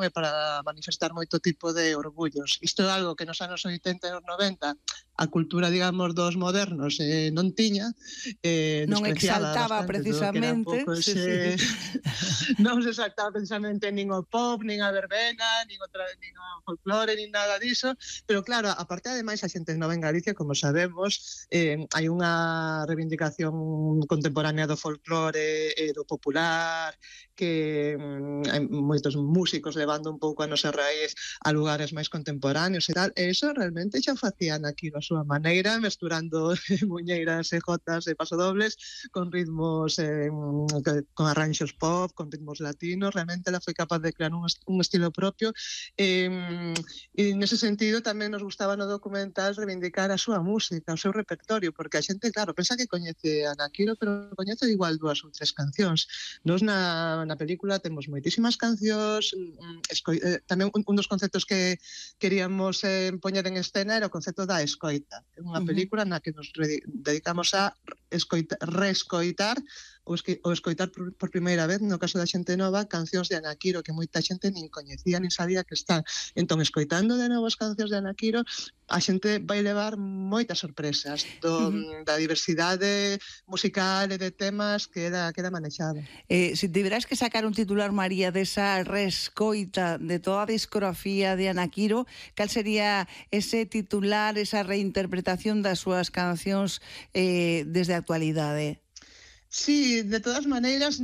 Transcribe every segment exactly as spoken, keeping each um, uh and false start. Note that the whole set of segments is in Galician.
e para manifestar moito tipo de orgullos. Isto é algo que nos anos oitenta e nos noventa a cultura, digamos, dos modernos eh, non tiña, eh, non despreciaba exaltaba bastante todo que era un precisamente, pouco sí, ese... sí. non se exaltaba precisamente nin o pop, nin a verbena, nin o, tra... nin o folclore, nin nada diso, pero claro, aparte ademais a xente nova en Galicia, como sabemos, eh, hai unha reivindicación contemporánea do folclore e do popular, que mm, hai moitos músicos levando un pouco a nosa raíz a lugares máis contemporáneos e tal, e iso realmente xa facían aquí a súa maneira, mesturando muñeiras e jotas e pasodobles con ritmos, eh, con arranxos pop, con ritmos latinos. Realmente ela foi capaz de crear un, est un estilo propio, e, e nese sentido tamén nos gustaba no documental reivindicar a súa música, o seu repertorio, porque a xente, claro, pensa que coñece a Ana Quiro, pero coñece igual dúas ou tres cancións. Nos na, na película temos moitísimas cancións, eh, tamén un, un dos conceptos que queríamos eh, poñer en escena era o concepto da escoita. É unha película na que nos dedicamos a escoita, reescoitar ou, esque, ou escoitar por, por primeira vez, no caso da xente nova, cancións de Ana Quiro que moita xente nin coñecía, nin sabía que están. Entón, escoitando de novo as cancións de Ana Quiro, a xente vai levar moitas sorpresas do, uh-huh. da diversidade musical e de temas que era, que era manexada. Eh, se tiveras que sacar un titular, María, desa reescoita de toda a discografía de Ana Quiro, cal sería ese titular, esa reinterpretación das súas cancións eh, desde a actualidade? Sí, de todas maneiras,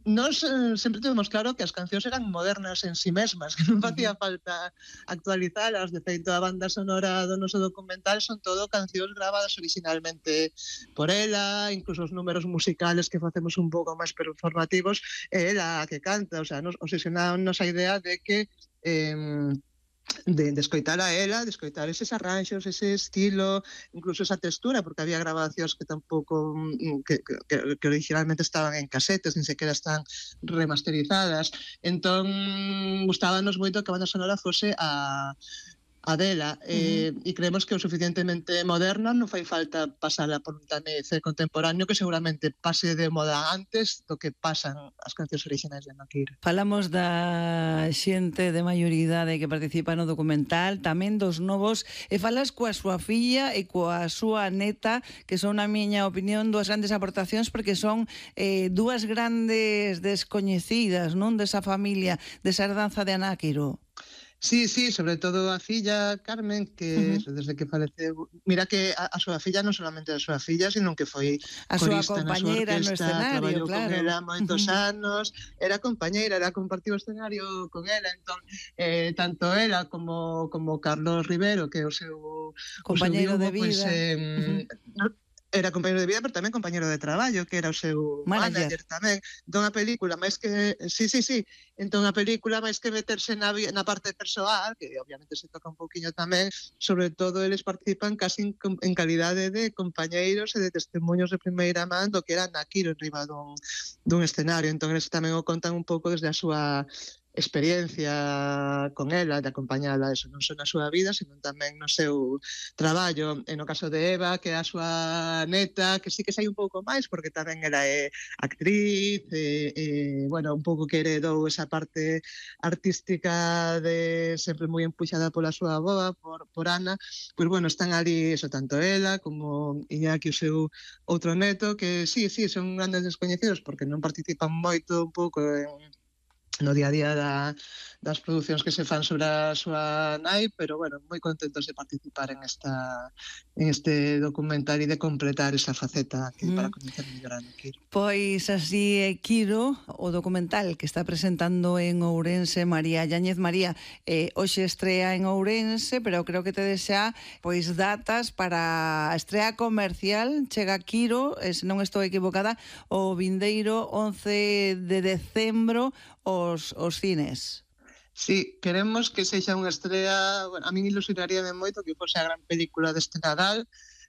nós sempre tivemos claro que as cancións eran modernas en si mesmas, que non facía falta actualizalas. De feito, a banda sonora do noso documental son todo cancións gravadas originalmente por ela, incluso os números musicales que facemos un pouco máis performativos, é ela a que canta. O sea, nos obsesionámonos a idea de que eh, De, de escoitar a ela, de escoitar eses arranxos, ese estilo, incluso esa textura, porque había grabacións que tampouco que, que, que originalmente estaban en casetes, nin sequera están remasterizadas. Entón, gustábanos moito que a banda sonora fose a a dela, eh, uh-huh. e creemos que o suficientemente moderna, non fai falta pasala por un tamiz contemporáneo que seguramente pase de moda antes do que pasan as cancións orixinais de Ana Quiro. Falamos da xente de maioridade que participa no documental, tamén dos novos, e falas coa súa filla e coa súa neta, que son, na miña opinión, dúas grandes aportacións, porque son eh, dúas grandes descoñecidas, non, desa familia, desa herdanza de Ana Quiro. Sí, sí, sobre todo a filla Carmen, que uh-huh. desde que faleceu, mira que a, a súa filla non solamente a súa filla, sino que foi a corista súa na súa orquesta, no escenario, traballou claro. con ela moitos uh-huh. anos, era compañeira, era compartiu o escenario con ela. Entón, eh, tanto ela como, como Carlos Rivero, que é o seu compañeiro o seu viugo, de vida, pues, eh, uh-huh. no, era compañero de vida, pero tamén compañero de traballo, que era o seu manager, manager tamén. Entón a película, máis que sí, sí, sí, entón a película máis que meterse na, na parte persoal, que obviamente se toca un poquinho tamén, sobre todo eles participan casi en, en calidade de compañeiros e de testemunhos de primeira man do que era Ana Quiro en riba dun, dun escenario. Entón eles tamén o contan un pouco desde a súa experiencia con ela, de acompañala, eso non só na súa vida, senón tamén no seu traballo. E no caso de Eva, que é a súa neta, que sí que sai un pouco máis, porque tamén ela é actriz, e, e bueno, un pouco que heredou esa parte artística de sempre moi empuxada pola súa avoa, por, por Ana. Pois bueno, están ali, eso, tanto ela como Iñaki, o seu outro neto, que sí, sí, son grandes descoñecidos, porque non participan moito un pouco en no día a día da, das producións que se fan sobre a súa nai, pero bueno, moi contentos de participar en esta en este documental e de completar esa faceta que mm. para coñecer mellor a Ana Quiro. Pois así é Quiro, o documental que está presentando en Ourense María Yáñez. María, eh, hoxe estrea en Ourense, pero creo que te desea pois datas para a estrea comercial. Chega Quiro, eh, se non estou equivocada, o vindeiro once de decembro os, os cines. Sí, queremos que sexa unha estrela, bueno, a min ilusionaríame moito que fose a gran película deste Nadal,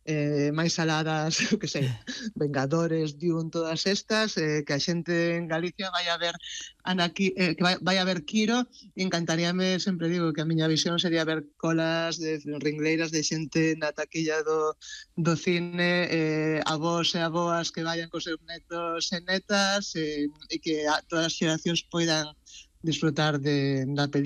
eh, máis saladas, que sei, Vengadores, Dune, todas estas, eh, que a xente en Galicia vai a ver Ana Qui, eh, que vai, vai a ver Quiro, e encantaríame, sempre digo que a miña visión sería ver colas de ringleiras de xente na taquilla do, do cine, eh, avós e avoas que vayan cos seus netos e netas, eh, e que a, todas as xeracións poidan disfrutar de, da película.